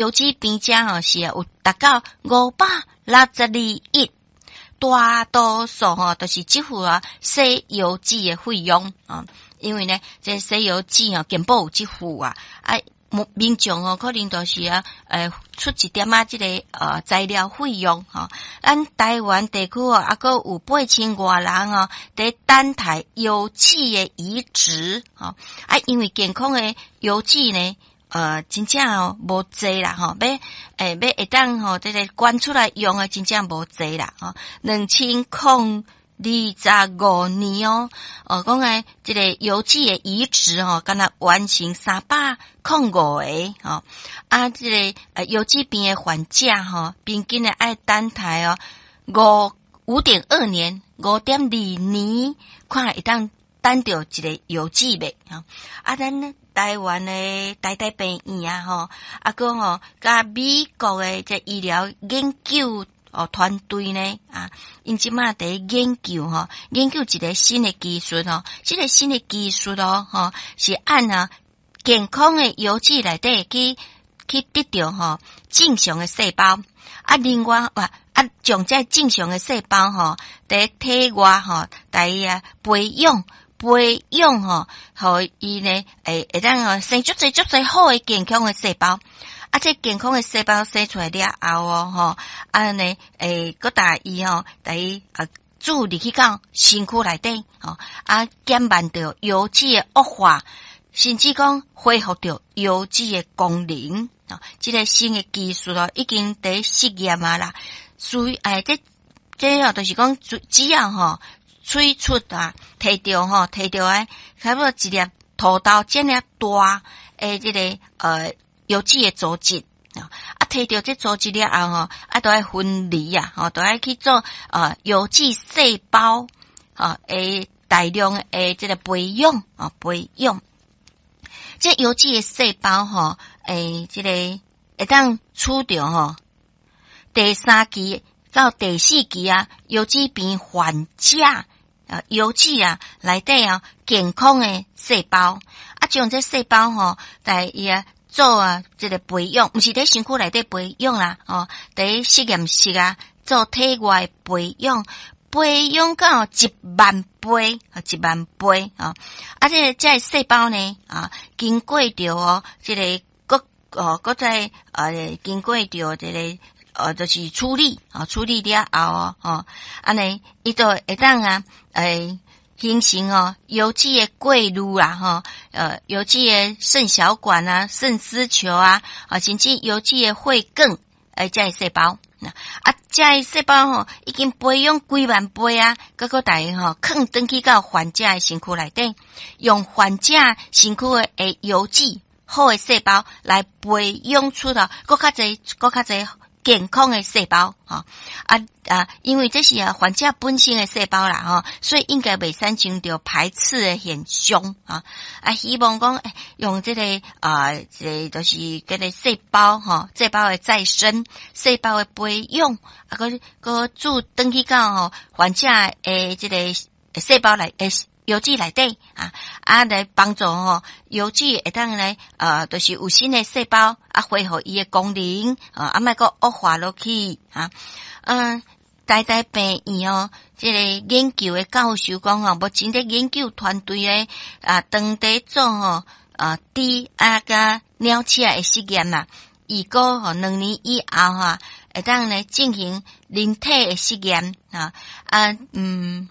優子病者吼是有達到562億，大多數吼都是支付啊洗油紙的費用啊，因為呢，這洗油紙吼健保有支付啊，啊，民眾哦可能就是啊，出一點仔這个材料費用吼。咱台灣地區哦，猶閣有8000外人哦，佇等待優子的移植吼。啊，因為健康的優子呢，真正哦無濟啦吼，欲會當吼這个捐出來用的真正無濟啦吼，2025年哦，哦，講的這个優子的移植吼，敢若完成305個吼，啊，這个優子病的患者吼，平均的愛等待哦5.2年，5.2年，看會當等著一个優子袂吼。啊，咱台灣的台大病院啊吼，啊，閣吼，佮美國的這醫療研究哦，團隊呢啊，𪜶這馬佇研究吼，研究一个新的技術吼，這个新的技術哦，吼是按啊健康的優子內底去得著吼正常的細胞，啊，另外啊啊將這正常的細胞吼，佇體外吼，來伊啊培養培養吼，予伊呢會當吼生足濟足濟好的健康的細胞。啊，這健康的細胞生出來了後哦，吼，按呢，閣帶伊吼，帶伊啊注入去到身軀內底，吼，啊，減慢著優子的惡化，甚至講恢復著優子的功能。哦，這个新的技術哦，已經佇實驗啊啦。所以，這哦，就是講，只要吼取出啊，提著吼，提著的差不多一粒土豆遮爾大的這个優子的組織啊，提著這組織了後吼，啊，都愛分離啊，吼，都愛去做優子細胞啊，大量的這个培養啊，培養。這優子的細胞吼，這个會當取著吼第三期到第四期啊，優子病患者啊，優子啊內底啊健康的細胞，啊，將這細胞吼，來伊啊做啊這个培養，毋是佇身軀內底培養啦，吼，佇實驗室啊做體外培養，培養到1萬倍，啊，1萬倍，啊，啊，這細胞呢，啊，經過著哦，這个閣哦，閣再經過著這个就是處理，啊，處理了後哦，吼，按呢，伊就會當啊，形成哦，優子的過濾啊，吼，優子的腎小管啊、腎絲球啊，啊，甚至優子的血管，這个細胞，啊，這个細胞吼，已經培養幾萬倍啊，閣閣帶吼，囥轉去到患者的身軀內底，用患者身軀的優子好的細胞來培養出了閣較濟、閣較濟健康的細胞，吼啊啊！因為這是啊患者本身的細胞啦，吼，所以應該袂產生著排斥的現象啊！啊，希望講用這個啊，這个就是這个細胞吼，細胞的再生，細胞的培養，啊，閣閣注轉去到吼患者的這個細胞內，優子內底啊，啊來幫助吼優子會當來就是有新的細胞啊，恢復伊的功能啊，啊莫閣惡化落去啊。嗯，台大病院哦，這个研究的教授講吼，目前佇研究團隊咧啊，當地做吼啊豬啊佮鳥鼠的實驗啦，預估吼2年以後哈，會當來進行人體的實驗啊啊嗯。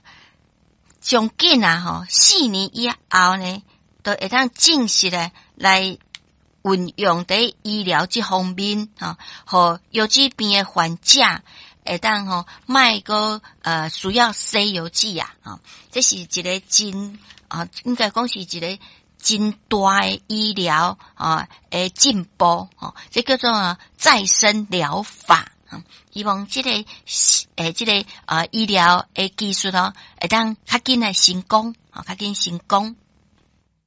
上緊啊吼，4年以後呢，就會當正式的來運用佇醫療這方面吼，予優子病的患者會當吼莫閣需要洗優子啊，吼，這是一个真啊，應該講是一个真大的醫療啊的進步吼，這叫做再生療法。希望這个這个醫療的技術哦，會當較緊來成功，較緊成功。